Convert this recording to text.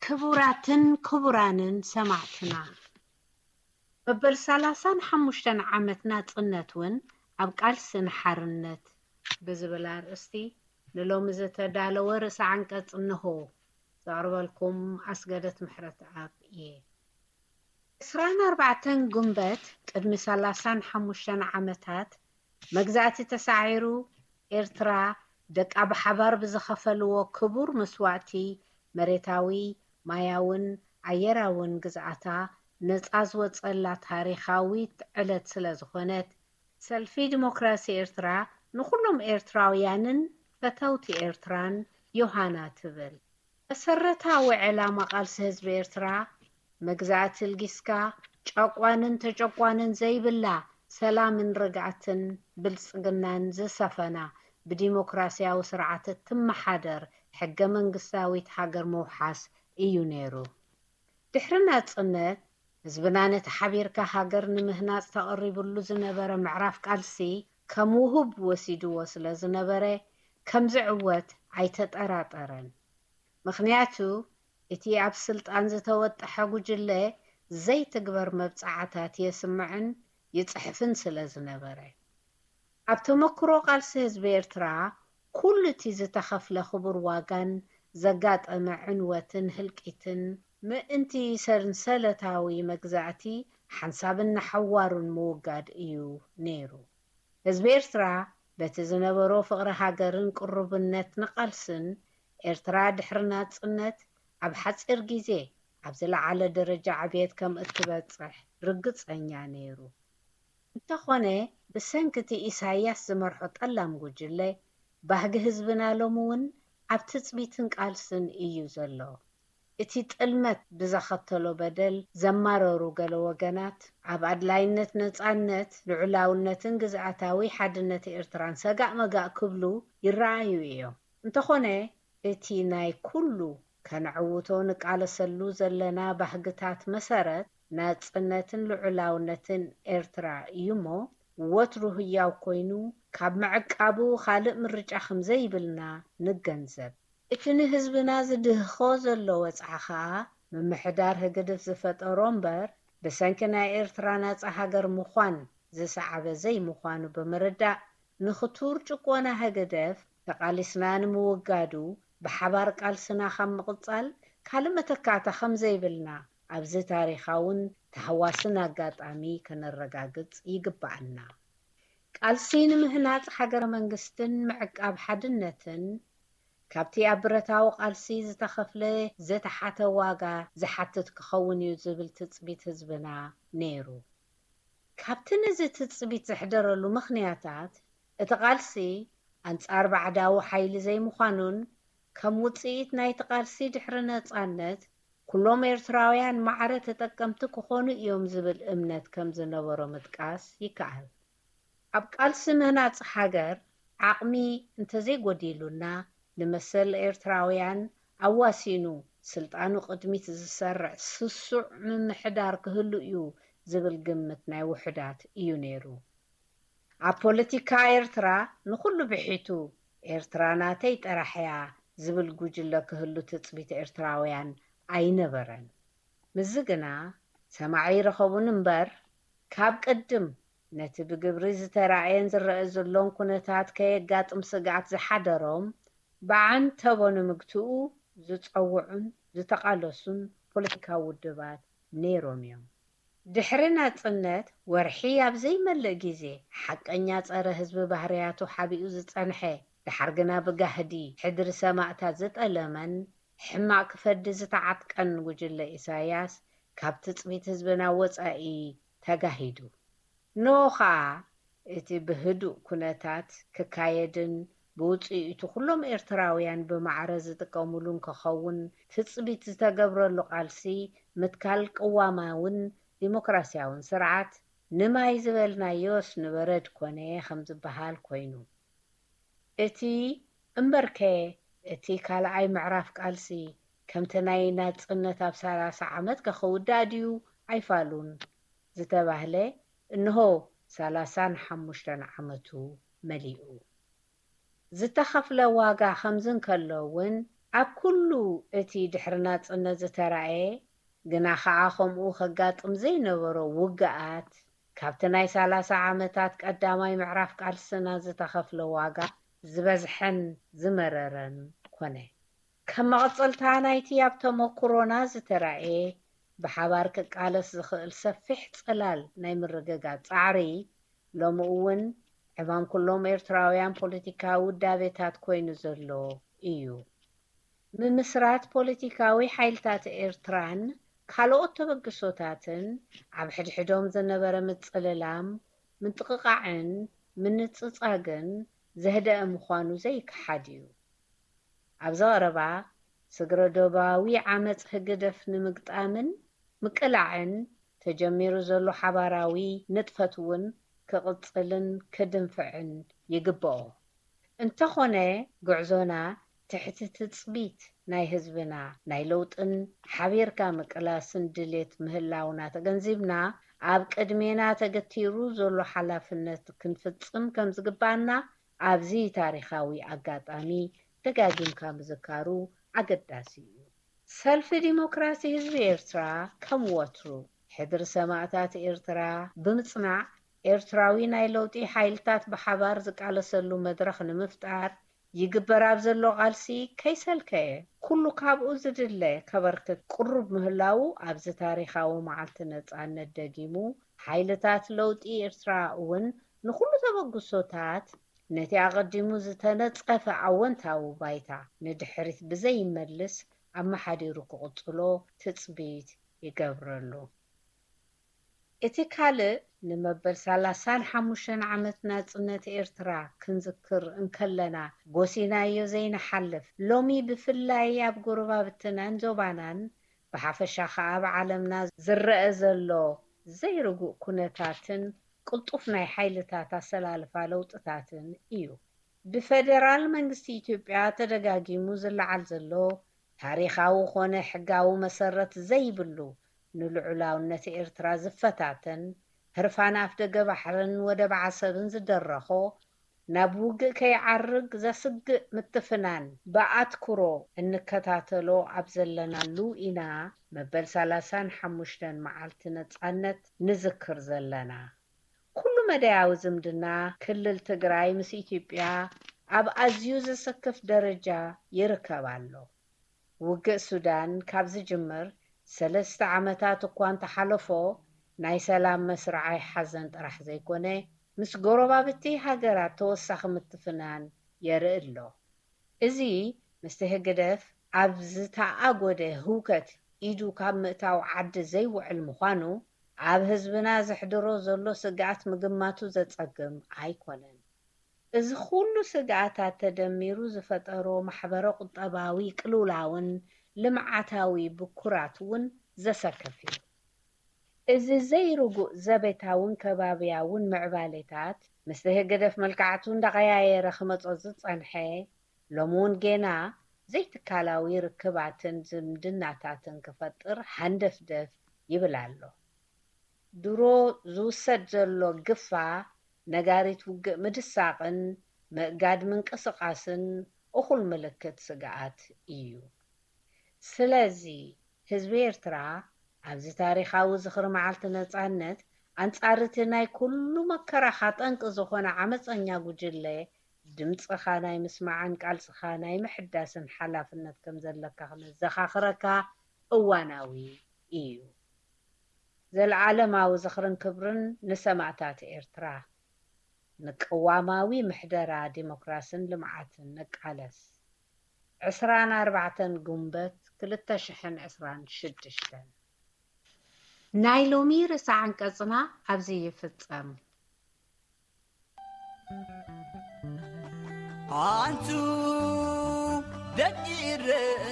ክቡራትን ክቡራንን ሰማዕትና፣ መበል ሰላሳን ሓሙሽተን ዓመት ናጽነት እውን ኣብ ቃልሲ ንሓርነት ብዝብል ኣርእስቲ ንሎሚ ዝተዳለወ ርእሰ ዓንቀጽ እንሆ። ዘቕርበልኩም ኣስገደት ምሕረተኣብ እየ። ዕስራን ኣርባዕተን ጉንበት ቅድሚ ሰላሳን ሓሙሽተን ዓመታት መግዛእቲ ተሳዒሩ፣ ኤርትራ ደቃ ብሓባር ብዝኸፈልዎ ክቡር መስዋእቲ፣ መሬታዊ፣ ማያውን ኣየራውን ግዝኣታ ነጻ ዝወጸላ ታሪኻዊት ዕለት ስለ ዝኾነት፣ ሰልፊ ዲሞክራሲ ኤርትራ ንኹሎም ኤርትራውያንን ፈተውቲ ኤርትራን ዮሃና ትብል። መሰረታዊ ዕላማ ቃልሲ ህዝቢ ኤርትራ፣ መግዛእቲ ልጊስካ፣ ጨቋንን ተጨቋንን ዘይብላ፣ ሰላምን ርግኣትን ብልጽግናን ዝሰፈና፣ ብዲሞክራሲያዊ ስርዓት እትመሓደር ሕገ መንግስታዊት ሃገር ምውሓስ እዩ ነይሩ። ድሕሪ ናጽነት፣ ህዝብና ነቲ ሓቢርካ ሃገር ንምህናጽ ተቐሪብሉ ዝነበረ ምዕራፍ ቃልሲ ከም ውሁብ ወሲድዎ ስለ ዝነበረ፣ ከም ዝዕወት ኣይተጠራጠረን። ምኽንያቱ፣ እቲ ኣብ ስልጣን ዝተወጠሐ ጉጅለ ዘይትግበር መብጽዓታት የስምዕን ይጽሕፍን ስለ ዝነበረ። ኣብ ተመክሮ ቃልሲ ህዝቢ ኤርትራ፣ ኩሉ እቲ ዝተኸፍለ ክቡር ዋጋን ዘጋጠመ ዕንወትን ህልቂትን፣ ምእንቲ ሰንሰለታዊ መግዛእቲ ሓንሳብን ንሓዋሩን ምውጋድ እዩ ነይሩ። ህዝቢ ኤርትራ በቲ ዝነበሮ ፍቕሪ ሃገርን ቅሩብነት ንቃልስን፣ ኤርትራ ድሕሪ ናጽነት ኣብ ሓጺር ግዜ ኣብ ዝለዓለ ደረጃ ዕብየት ከም እትበጽሕ ርግጸኛ ነይሩ። እንተኾነ፣ ብሰንኪ እቲ ኢሳያስ ዝመርሖ ጠላም ጉጅለ፣ ባህጊ ህዝብና ሎሚ እውን ኣብ ትጽቢትን ቃልስን እዩ ዘሎ። እቲ ጥልመት ብዘኸተሎ በደል ዘማረሩ ገለ ወገናት፣ ኣብ ኣድላይነት ነጻነት፣ ልዑላውነትን ግዝኣታዊ ሓድነት ኤርትራን ሰጋእ መጋእ ክብሉ ይረኣዩ እዮም። እንተኾነ፣ እቲ ናይ ኩሉ ከነዕውቶ ንቃለሰሉ ዘለና ባህግታት መሰረት፣ ናጽነትን ልዑላውነትን ኤርትራ እዩ እሞ፣ ወትሩ ህያው ኮይኑ ካብ ምዕቃቡ ካልእ ምርጫ ከም ዘይብልና ንገንዘብ። እቲ ንህዝብና ዝድህኾ ዘሎ ወጽዓ ኸኣ፣ ምምሕዳር ህግድፍ ዝፈጠሮ እምበር፣ ብሰንኪ ናይ ኤርትራ ናጻ ሃገር ምዃን ዝሰዓበ ዘይምዃኑ ብምርዳእ፣ ንኽቱር ጭቆና ህግደፍ ተቓሊስና ንምውጋዱ፣ ብሓባር ቃልስና ካብ ምቕጻል ካልእ መተካእታ ከም ዘይብልና፣ ኣብዚ ታሪኻውን ተሃዋስን ኣጋጣሚ ከነረጋግጽ ይግብኣና። ቃልሲ ንምህናጽ ሃገረ መንግስትን ምዕቃብ ሓድነትን፣ ካብቲ ኣብ ብረታዊ ቃልሲ ዝተኸፍለ ዝተሓተ ዋጋ ዝሓትት ክኸውን እዩ ዝብል ትጽቢት ህዝብና ነይሩ። ካብቲ ነዚ ትጽቢት ዘሕደረሉ ምኽንያታት፣ እቲ ቃልሲ ኣንጻር ባዕዳዊ ሓይሊ ዘይምዃኑን፣ ከም ውጽኢት ናይቲ ቃልሲ ድሕሪ ነጻነት፣ ኩሎም ኤርትራውያን ማዕረ ተጠቀምቲ ክኾኑ እዮም ዝብል እምነት ከም ዝነበሮ ምጥቃስ ይከኣል። ኣብ ቃልሲ ምህናጽ ሃገር ዓቕሚ እንተዘይጎዲሉና፣ ንመሰል ኤርትራውያን ኣዋሲኑ ስልጣኑ ቅድሚት ዝሰርዕ ስሱዕ ምምሕዳር ክህሉ እዩ ዝብል ግምት ናይ ውሑዳት እዩ ነይሩ። ኣብ ፖለቲካ ኤርትራ ንኹሉ ብሒቱ ኤርትራ ናተይ ጥራሕ እያ ዝብል ጉጅለ ክህሉ ትጽቢት ኤርትራውያን ኣይነበረን። ምስዚ ግና ሰማዒ ይረኸቡን እምበር፣ ካብ ቅድም ነቲ ብግብሪ ዝተራእየን ዝረአ ዘሎን ኩነታት ከየጋጥም ስግኣት ዝሓደሮም፣ ብዓንተቦ ንምግትኡ ዝጸውዑን ዝተቓለሱን ፖለቲካዊ ውድባት ነይሮም እዮም። ድሕሪ ናጽነት ወርሒ ኣብ ዘይመልእ ግዜ፣ ሓቀኛ ጸረ ህዝቢ ባህርያቱ ሓቢኡ ዝጸንሐ፣ ደሓር ግና ብጋህዲ ሕድሪ ሰማእታት ዝጠለመን ሕማቕ ክፈዲ ዝተዓጥቀን ጉጅለ ኢሳያስ፣ ካብ ትጽቢት ህዝብና ወጻኢ ተጋሂዱ። ንኡ ኸኣ፣ እቲ ብህዱእ ኩነታት ክካየድን ብውጽኢቱ ኩሎም ኤርትራውያን ብማዕረ ዝጥቀሙሉን ክኸውን ትጽቢት ዝተገብረሉ ቃልሲ፣ ምትካል ቅዋማውን ዲሞክራሲያውን ስርዓት፣ ንማይ ዝበልናዮስ ንበረድ ኮነ ከም ዝበሃል ኮይኑ። እቲ እምበርከ፣ እቲ ካልኣይ ምዕራፍ ቃልሲ፣ ከምቲ ናይ ናጽነት ኣብ ሰላሳ ዓመት ከ ክውዳእ ድዩ ኣይፋሉን ዝተባህለ፣ እንሆ ሰላሳን ሓሙሽተን ዓመቱ መሊኡ። ዝተኸፍለ ዋጋ ከምዚ እንከሎ እውን፣ ኣብ ኩሉ እቲ ድሕሪ ናጽነት ዝተራእየ፣ ግና ኸኣ ከምኡ ከጋጥም ዘይነበሮ ውግኣት፣ ካብቲ ናይ ሰላሳ ዓመታት ቀዳማይ ምዕራፍ ቃልስና ዝተኸፍለ ዋጋ ዝበዝሐን ዝመረረን ኮነ። ከም መቐጸልታ ናይቲ ኣብ ተመኩሮና ዝተራእየ፣ ብሓባር ክቃለስ ዝኽእል ሰፊሕ ጽላል ናይ ምርግጋጽ ጻዕሪ፣ ሎሚ እውን ዕማም ኩሎም ኤርትራውያን ፖለቲካዊ ውዳቤታት ኮይኑ ዘሎ እዩ። ምምስራት ፖለቲካዊ ሓይልታት ኤርትራን ካልኦት ተበግሶታትን፣ ኣብ ሕድሕዶም ዝነበረ ምጽልላም፣ ምጥቕቓዕን ምንጽጻግን ዘህደአ ምዃኑ ዘይከሓድ እዩ። ኣብዚ ቀረባ፣ ስግረ ዶባዊ ዓመጽ ህግደፍ ንምግጣምን ምቅላዕን ተጀሚሩ ዘሎ ሓባራዊ ንጥፈት እውን ክቕጽልን ክድንፍዕን ይግብኦ። እንተኾነ፣ ጉዕዞና ትሕቲ ትጽቢት ናይ ህዝብና ናይ ለውጥን ሓቢርካ ምቅላስን ድሌት ምህላውና ተገንዚብና፣ ኣብ ቅድሜና ተገቲሩ ዘሎ ሓላፍነት ክንፍጽም ከም ዝግባና ኣብዚ ታሪኻዊ ኣጋጣሚ ደጋጊምካ ምዝካሩ ኣገዳሲ እዩ። ሰልፊ ዲሞክራሲ ህዝቢ ኤርትራ ከም ወትሩ ሕድሪ ሰማእታት ኤርትራ ብምጽናዕ፣ ኤርትራዊ ናይ ለውጢ ሓይልታት ብሓባር ዝቃለሰሉ መድረኽ ንምፍጣር ይግበር ኣብ ዘሎ ቃልሲ ከይሰልከየ ኩሉ ካብኡ ዝድለ ከበርክት ቅሩብ ምህላዉ፣ ኣብዚ ታሪኻዊ መዓልቲ ነጻነት ደጊሙ ሓይልታት ለውጢ ኤርትራ እውን ንኹሉ ተበግሶታት ነቲ ኣቐዲሙ ዝተነጸፈ ኣወንታዊ ባይታ ንድሕሪት ብዘይመልስ ኣመሓዲሩ ክቕጽሎ ትጽቢት ይገብረሉ። እቲ ካልእ ንመበል ሰላሳን ሓሙሽተን ዓመት ናጽነት ኤርትራ ክንዝክር እንከለና ጎሲናዮ ዘይንሓልፍ፣ ሎሚ ብፍላይ ኣብ ጎረባብትናን ዞባናን ብሓፈሻ ኸኣ ኣብ ዓለምና ዝረአ ዘሎ ዘይርጉእ ኩነታትን ቅልጡፍ ናይ ሓይልታት ኣሰላልፋ ለውጥታትን እዩ። ብፈደራል መንግስቲ ኢትዮጵያ ተደጋጊሙ ዝለዓል ዘሎ ታሪኻዊ ኾነ ሕጋዊ መሰረት ዘይብሉ ንልዑላውነት ኤርትራ ዝፈታተን ህርፋን ኣፍደገ ባሕርን ወደብ ዓሰብን ዝደረኾ ናብ ውግእ ከይዓርግ ዘስግእ ምትፍናን ብኣትኩሮ እንከታተሎ ኣብ ዘለናሉ ኢና መበል ሰላሳን ሓሙሽተን መዓልቲ ነጻነት ንዝክር ዘለና። ኩሉ መዳያዊ ዝምድና ክልል ትግራይ ምስ ኢትዮጵያ ኣብ ኣዝዩ ዘሰክፍ ደረጃ ይርከብ ኣሎ። ውግእ ሱዳን ካብ ዝጅምር ሰለስተ ዓመታት እኳ እንተሓለፎ፣ ናይ ሰላም መስርዓይ ሓዘን ጥራሕ ዘይኮነ፣ ምስ ጎረባብቲ ሃገራት ተወሳኺ ምትፍናን የርኢ ኣሎ። እዚ ምስቲ ህግደፍ ኣብ ዝተኣጎደ ህውከት ኢዱ ካብ ምእታው ዓዲ ዘይውዕል ምዃኑ፣ ኣብ ህዝብና ዘሕድሮ ዘሎ ስግኣት ምግማቱ ዘጸግም ኣይኮነን። እዚ ኩሉ ስግኣታት ተደሚሩ ዝፈጠሮ ማሕበረ ቁጠባዊ ቅልውላውን ልምዓታዊ ብኩራት እውን ዘሰክፍ እዩ። እዚ ዘይርጉእ ዘቤታውን ከባብያውን ምዕባሌታት ምስቲ ህግደፍ መልክዓቱ እንዳቐያየረ ክመጾ ዝጸንሐ፣ ሎሚ እውን ጌና ዘይትካላዊ ርክባትን ዝምድናታትን ክፈጥር ሃንደፍደፍ ይብል ኣሎ። ድሮ ዝውሰድ ዘሎ ግፋ ነጋሪት ውግእ ምድሳቕን ምእጋድ ምንቅስቓስን እኹል ምልክት ስግኣት እዩ። ስለዚ ህዝቢ ኤርትራ ኣብዚ ታሪኻዊ ዝኽሪ መዓልቲ ነጻነት ኣንጻር እቲ ናይ ኩሉ መከራኻ ጠንቂ ዝኾነ ዓመጸኛ ጉጅለ ድምጽኻ ናይ ምስማዕን ቃልስኻ ናይ ምሕዳስን ሓላፍነት ከም ዘለካ ክነዘኻኽረካ እዋናዊ እዩ። ዘለዓለማዊ ዝኽርን ክብርን ንሰማእታት ኤርትራ። ንቅዋማዊ ምሕደራ ዲሞክራስን ልምዓትን ንቃለስ። ዕስራን ኣርባዕተን ጉንበት ክልተ ሽሕን ዕስራን ሽዱሽተን። ናይ ሎሚ ርእሰ ዓንቀጽና ኣብዚ ይፍጸም። ኣንቱ ደቂ